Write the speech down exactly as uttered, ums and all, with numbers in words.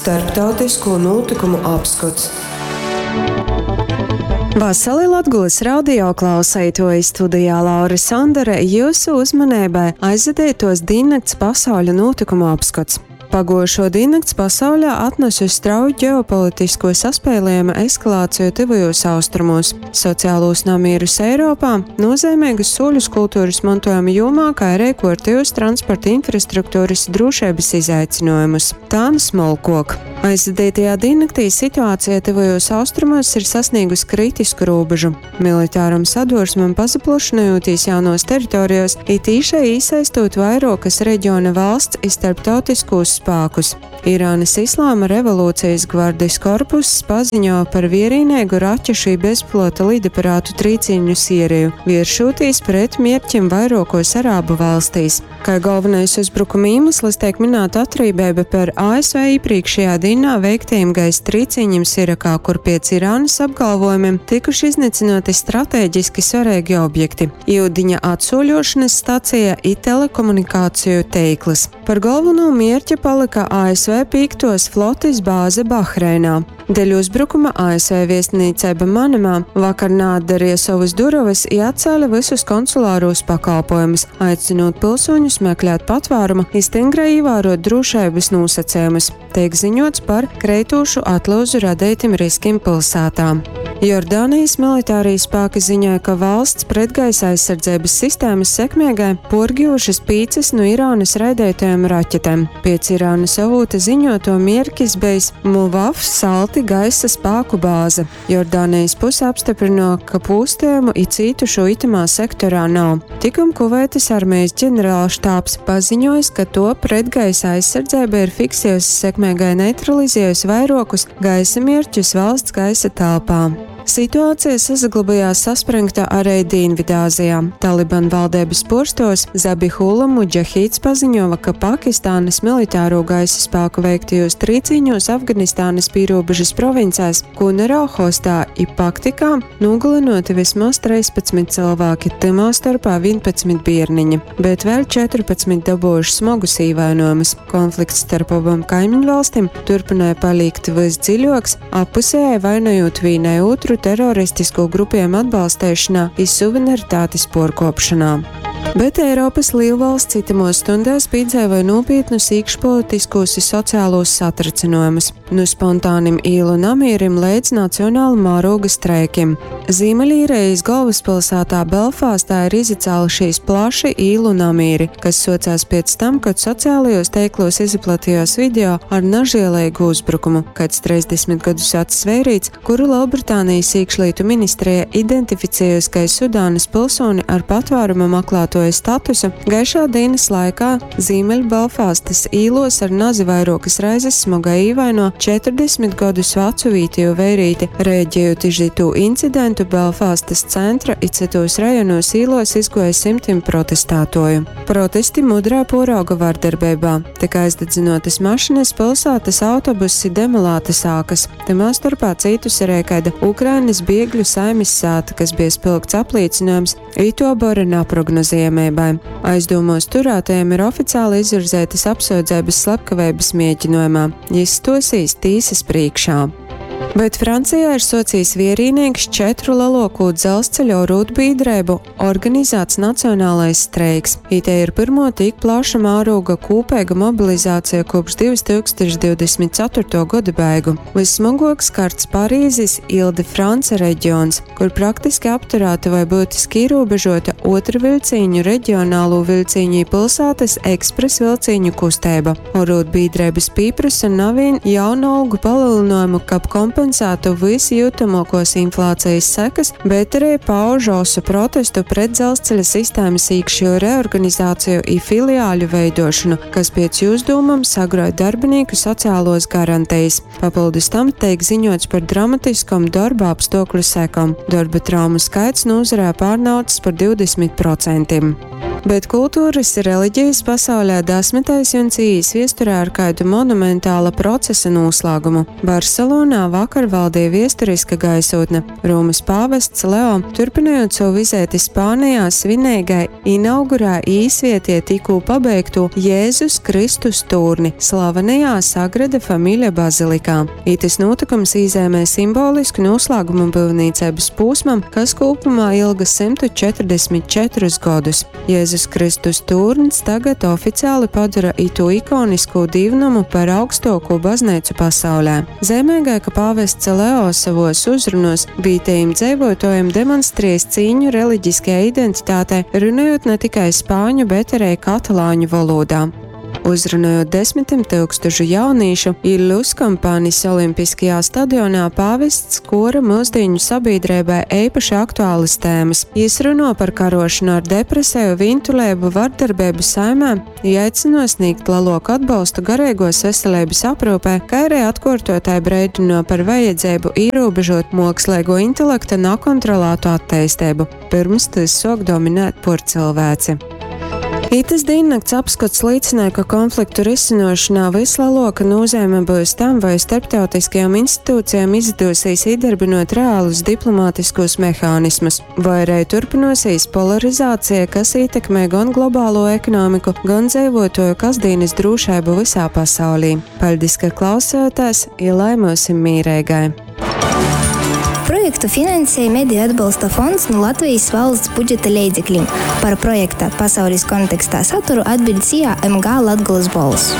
Starptautisko nūtykumu apskots. Vasali Latgolys radio klauseituoji studijā Laura Sandere jiusu uzmaneibai aizvadeituos dīnnakts pasauļa nūtykumu apskots. Paguojušo dīnnakts pasaulē atnesusi strauju ģeopolitiskuo saspēlējuma eskalāciju Tyvajūs Austrumūs, sociālūs namierus Eiropā, nūzeimeigus sūļus kulturys montuojuma jūmā, kai arī kuortejūs transporta infrastruktūrys drūšeibys izaicynuojumus. Tān smolkuok. Aizvadeitajā dīnnaktī situācija Tyvajūs Austrumos ir sasniegusi kritisku rūbežu. Militāram sadursmem pasaplašynojūtīs jaunuos teritorijos i tīšai īsaistūt vairuokys regiona valsts i starptautiskūs spākus. Irānys Islāma revolūcejis gvardis korpuss paziņo par vierīneigu raķešu i bezpilota lidaparātu trīcīņu siereju, vieršūtīs pret mierķim vairuokuos arābu valstīs. Kai golvonais uzbrukuma īmeslis teik mynāta atrībeiba par A S V īprīkšējā dīnā veiktajim gaisa trīcīņim Irakā, kur piec Irānys apgalvojumim tikuši iznycynuoti strateģiski svareigi objekti – iudiņa atsūļuošonys staceja i telekomunikāciju teiklys. Par golvonū mierķi palyka A S V pīktuos flotis bāze Bahreinā. Deļ uzbrukuma A S V viestnīceiba Manamā vakar naatdareja sovys durovys i atcēle vysus konsulārūs pakalpojumus, aicynūt pilsūņus meklēt patvārumu i styngrai īvāruot drūšeibys nūsacejumus. Teik ziņots par kreitūšu atlyuzu radeitim riskim pilsātā. Jordānijas militārī spāki ziņoja, ka valsts pretgaisa aizsardzeibys sistēmys sekmeigai puorgivušys pīcys nu Irānys raideitajom raķetem. Piec Irānys avūta ziņotuo mierkis bejs Muvaf Salti gaisa spāku bāze. Jordānijas puse apstyprynuo, ka pūstejumu i cītušū itamā sektorā nav. Tikom Kuveitas armejis ģenerālštābs paziņojis, ka to pretgaisa aizsardzeiba ir fiksējusi sekmeigai neutralizējusi vairuokus gaisa mierķus valsts gaisa telpā. Situācija sasaglabājās saspringta arī Dīnvidāzijā. Taliban valdības puorstuovs Zabihula Mudžahīds paziņoja, ka Pakistānas militāro gaisa spāku veiktajos trīcīņos Afganistānas pīrobežas provincēs Kunarā, Hostā i Paktikā nogalināti vismaz treispadsmit cilvēki, tymā starpā vienpadsmit bierniņi, bet vēl četrpadsmit dabūjuši smogus īvainojumus. Konflikts starp abām kaimiņvalstīm turpināja palikt visdziļāks, appusēji vainojot vīnai otru teroristisko grupējumu atbalsteišanā i suverenitātes puorkuopšanā. Bet Eiropys lielvalsts itamos stundēs pīdzeivoja nopietnus iekšpolitiskos i sociālos satricinājumus, nu spontānim īlu namīrim līdz nacionāla mēroga streikim. Zīmeļīrijas galvaspilsētā Belfāstā ir izacēlušies plaši īlu namīri, kas socās pēc tam, kad sociālajos teiklos izplatījās video ar nažēlīgu uzbrukumu, kāds trīsdesmit gadus vecs vērīts, kuru Lielbritānijas iekšlietu ministrija identificējusi kā Sudānas pilsoni ar patvēruma meklētoja statusu, gaišā dienas laikā Zīmeļbelfāstas īlos ar nazi vairuokas reizes smagai īvaino četrdesmit gadus vecu vītiju vērīti. Rēģējot iz itū incidentu, Belfāstas centra i cytos rajonos īlos izgoja simtim protestātoju. Protesti mudrā porauga vardarbībā. Tika aizdedzinotas mašinas, pilsētas autobusi, demolētas ākas. Tamā starpā cītusi arī kāda Ukrainas biegļu saimis sāta, kas bija spilgts apliecinājums ito bora neprognozējamībai. Aizdomos turētajiem ir oficiāli izvirzētas apsūdzības slepkaveibas mēģinājumā. Jis stosīs tīsas priekšā. Bet Francijā ir socijas vierīnieks četru lielāko dzelzceļa rūtbiedrību organizēts nacionālais streiks. Ite ir pirmo tik plaša mēroga kūpeiga mobilizācija kopš divtūkstoš divdesmit ceturto gada beigu. Vissmagāk skarts Parīzes Ilde-France reģions, kur praktiski apturēta vai būtiski ierobežota otra vilciņu, reģionālo vilciņu i pilsētas ekspres vilciņu kusteiba. Orūdbiedrības pīprasa navīn jaunu algu palielinājumu, kab kompensētu visjūtamākos inflācijas sekas, bet arī pauž osu protestu pret dzelzceļa sistēmas iekšējo reorganizāciju i filiāļu veidošanu, kas pēc jūs dūmam sagrauj darbinieku sociālos garantijas. Papildus tam tiek ziņots par dramatiskom darba apstākļu sekām. Darba traumu skaits nozarē pārnaucis par divdesmit procentiem. Bet kulturys i reliģejis pasaulē dasmytais juns īīs viesturē ar kaidu monumentāla procesa nūslāgumu. Barselonā vakar valdīja viesturiska gaisotne. Rūmys pāvests Leo, turpinojot savu vizīti Spānijā, svineigai inaugurē īsvietie tikū pabeigtū Jēzus Kristus tūrni slavenajā Sagrada Familia bazilikā. Itis nūtikums īzēmē simbolisku noslēgumu būvniecības pūsmam, kas kopumā ilga simtu četrdesmit četrus godus. Jēzus Jēzus Kristus tūrns tagad oficiāli padara itu ikonisko dīvnamu par augstāko baznīcu pasaulē. Zemīgai, ka pāvests Leo savos uzrunos vītējiem dzīvotājiem demonstrēs cīņu reliģiskajai identitātei, runājot ne tikai spāņu, bet arī katalāņu valodā. Uzrunājot desmitiem tūkstošu jaunīšu, Illus Kampanis Olimpiskajā stadionā pāvests kora mūsdienu sabiedrībai īpaši aktuālas tēmas. Jis runo par karošanu ar depresiju, vīntulēbu, vardarbību saimē, aicino sniegt lielāku atbalstu garīgos veselības aprūpē, kā arī atkārtotai breidino par vajadzību ierobežot mākslīgo intelekta nekontrolētu attīstību, pirms tas sok dominēt por cilvēci. Itas diennakts apskats liecināja, ka konfliktu risinošanā vislielākā nozīme būs tam, vai starptautiskajām institūcijām izdosies iedarbinot reālus diplomātiskos mehānismus, vai arī turpinosies polarizācija, kas ietekmē gan globālo ekonomiku, gan dzīvotoju kasdienas drošību visā pasaulī. Paldies, ka klausāties, ja lai mūsim mīrēgai! Projektu finansēja Mediju atbalsta fonds no Latvijas valsts budžeta leidzekļiem. Par projekta pasaules kontekstā saturu atbild S I A M G Latgulas Bols.